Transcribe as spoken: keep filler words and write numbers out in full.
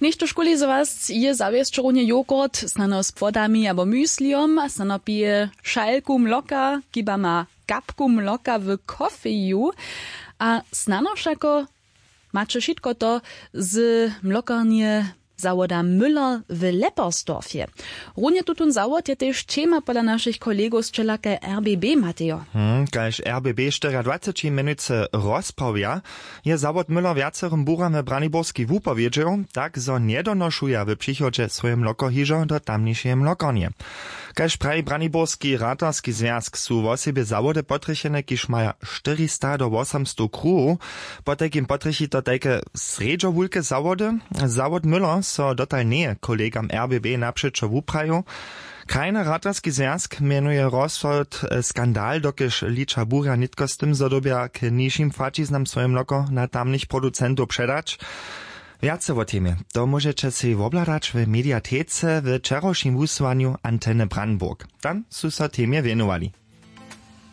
Něchtožkuli z was je zawěsć runje jogurt, snano z płodami abo müslijom, snano pije šalku mloka, kiba ma kapku mloka w kofeju. A snano wšako maće wšitko to z mlokarnje zawoda müller w leppersdorfje. Runje tutón zawod je tež ćema pola našich kolegow z čelakaj rbb matejo. Hm, kaž rbb štyriadwaceći mjenujcy rozprawja, je zawod müller wjacerym buram w braniborskej wupowědźeł, tak zo njedonošuja w přichodźe swoje mlokohižo do tamnišeje mlokarnje. Kaž praji braniborski ratarski zwjazk, su wosebje zawody potrjechene, kiž maja štyrista do wosomstow kruhow. Potajkim potrjechi to tajke srjedźowulke zawody. Zawod müller so dotal njeje kolegam rbb napřećo wuprajił. Krajny ratarski zwjazk mjenuje rozsud, e, skandal, dokelž liča burja nětko z tym, zo dyrbja k nižim płaćiznam swoje mloko na tamnych producentow předać. Wjace wo temje to móžeće sej wobhladać w mediatece we wčerawšim wusyłanju anteny brandenburg. Tam su so temje wjenowali.